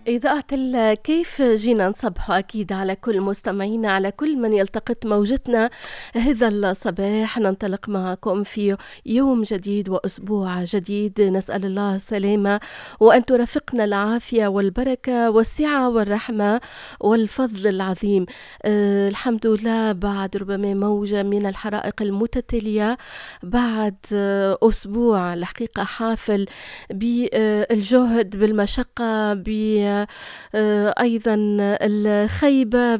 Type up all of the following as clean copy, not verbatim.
إذاعة الكيف جينا نصبح أكيد على كل مستمعينا، على كل من يلتقط موجتنا هذا الصباح. ننطلق معكم في يوم جديد وأسبوع جديد، نسأل الله السلامة وأن ترافقنا العافية والبركة والسعة والرحمة والفضل العظيم. الحمد لله بعد ربما موجة من الحرائق المتتالية، بعد أسبوع الحقيقة حافل بالجهد، بالمشقة، أيضا الخيبة،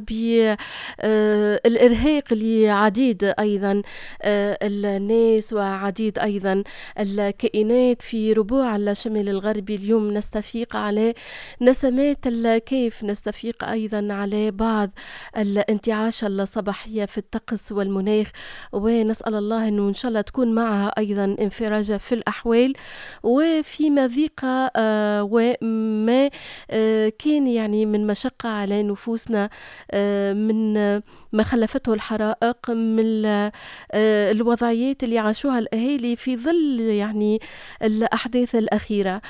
بالإرهاق لعديد أيضا الناس وعديد أيضا الكائنات في ربوع الشمال الغربي. اليوم نستفيق على نسمات الكيف، نستفيق أيضا على بعض الانتعاش الصباحية في الطقس والمناخ، ونسأل الله أنه إن شاء الله تكون معها أيضا انفراجة في الأحوال وفي مضيقة وما كان يعني من مشقة على نفوسنا من ما خلفته الحرائق، من الوضعيات اللي عاشوها الأهالي في ظل يعني الأحداث الأخيرة.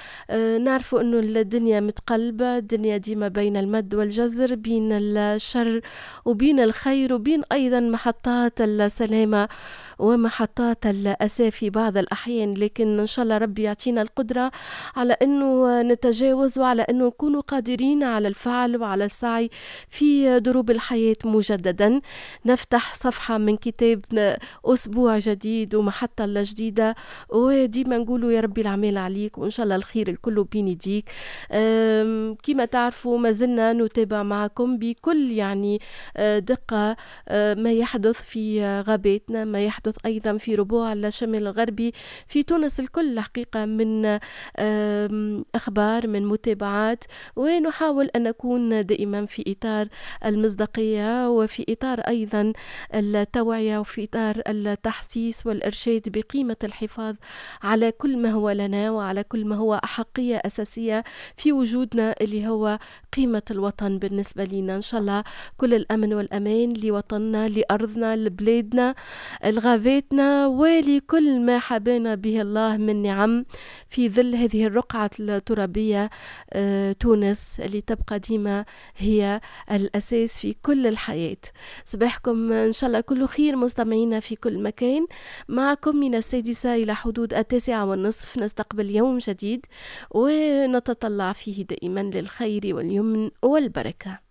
نعرف أنه الدنيا متقلبة، الدنيا ديما بين المد والجزر، بين الشر وبين الخير، وبين أيضا محطات السلامة ومحطات الأسى في بعض الأحيان، لكن إن شاء الله ربي يعطينا القدرة على أنه نتجاوز وعلى أنه نكون قادرين على الفعل وعلى السعي في دروب الحياة مجددا. نفتح صفحة من كتاب أسبوع جديد ومحطة جديدة، وديما نقولوا يا ربي العمال عليك وإن شاء الله الخير الكل بين يديك. كما تعرفوا ما زلنا نتابع معكم بكل يعني دقة ما يحدث في غاباتنا، ما يحدث أيضا في ربوع الشمال الغربي في تونس الكل الحقيقة، من أخبار، من متابعات، ونحاول أن نكون دائما في إطار المصداقية وفي إطار أيضا التوعية وفي إطار التحسيس والإرشاد بقيمة الحفاظ على كل ما هو لنا وعلى كل ما هو أحقية أساسية في وجودنا اللي هو قيمة الوطن بالنسبة لنا. إن شاء الله كل الأمن والأمان لوطننا، لأرضنا، لبلادنا، لغاباتنا، ولكل ما حبانا به الله من نعم في ظل هذه الرقعة الترابية تونس اللي تبقى ديما هي الأساس في كل الحياة. صباحكم إن شاء الله كل خير مستمعينا في كل مكان. معكم من 6 إلى حدود 9:30 نستقبل يوم جديد ونتطلع فيه دائما للخير واليمن والبركة.